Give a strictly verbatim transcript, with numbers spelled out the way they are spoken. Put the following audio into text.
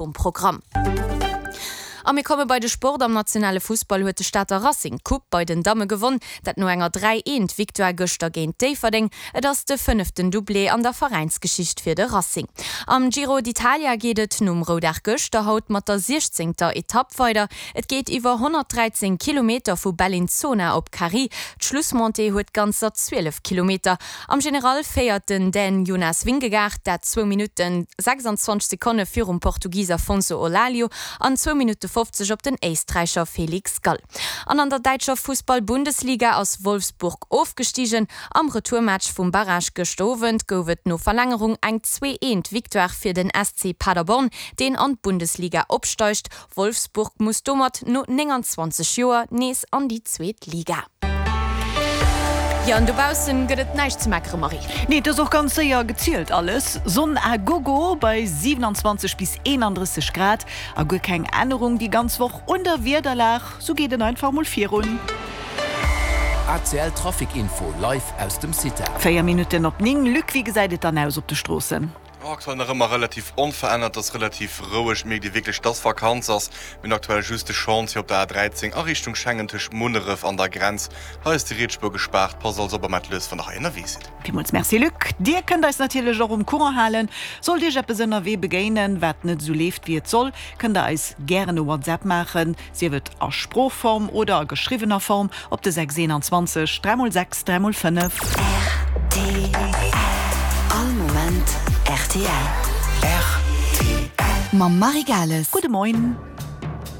Um Programm. A mir komme bei de Sport. Am nationale Fussball huet de Stater Racing d'Coupe bei den Damme gewonn, dat no enger dräi eent Victoire gëschter géint Déifferdeng. Et ass de fënneften Doublé an der Veräinsgeschicht fir de Racing. Am Giro d'Italia geet et nom Roudag gëschter haut mat der siechzéngter Etapp weider. Et geet iwwer honnertdräizéng Kilometer vu Bellinzona op Cari. D'Schlussmontée huet ganzer zwielef Kilometer. Am General féiert den Dän Jonas Vingegaard, dat zwou Minutten sechsandzwanzeg Sekonne virum Portugis Afonso Eulalio an zwou Minutte fofzeg op den Éisträicher Felix Gall. An an der däitscher Fussball-Bundesliga ass Wolfsburg ofgestigen. Am Retourmatch vum Barrage gëscht Owend gouf et no Verlängerung eng zwee eent Victoire fir den S C Paderborn, deen an d'Bundesliga opsteigt. Wolfsburg muss domat no nénganzwanzeg Joer nees an déi zweet Liga. Jo, an dobaussen gëtt et näischt ze meckere, Marie. Nee, et ass och ganz séier gezielt alles. Sonn à gogo bei siewenanzwanzeg bis eenandrësseg Grad a guer keng Ännerung déi ganz Woch un der Wiederlag, sou geet et einfach mol virun. A C L Trafic Info live aus dem CITAR. Véier Minutten op néng, Luc, wéi gesäit et dann aus op de Stroossen? Aktuell nach ëmmer relativ onverännert, ass relativ roueg. Mierkt ee wierklech, dass Vakanz ass. Mir hunn aktuell just de Chantier op der A dräizéng a Richtung Schengen tëscht Munneref an der Grenz. Hei ass déi riets Spuer gespaart. Passt also op a maacht lues, wann der hei ënnerwee sidd. Villmools Merci Luc. Dir kënnt eis natierlech och um Courant halen. Sollt Iech eppes ënnerwee begéinen, wat net esou leeft wéi et soll, kënnt der eis gären e WhatsApp maachen, sief et a Sproochform oder a geschriwwener Form, op de sechs eenanzwanzeg dräi mol sechs dräi mol fënnef. R T L All Moment R T L. R T L. Mam Marie Gales. Gudde Moien.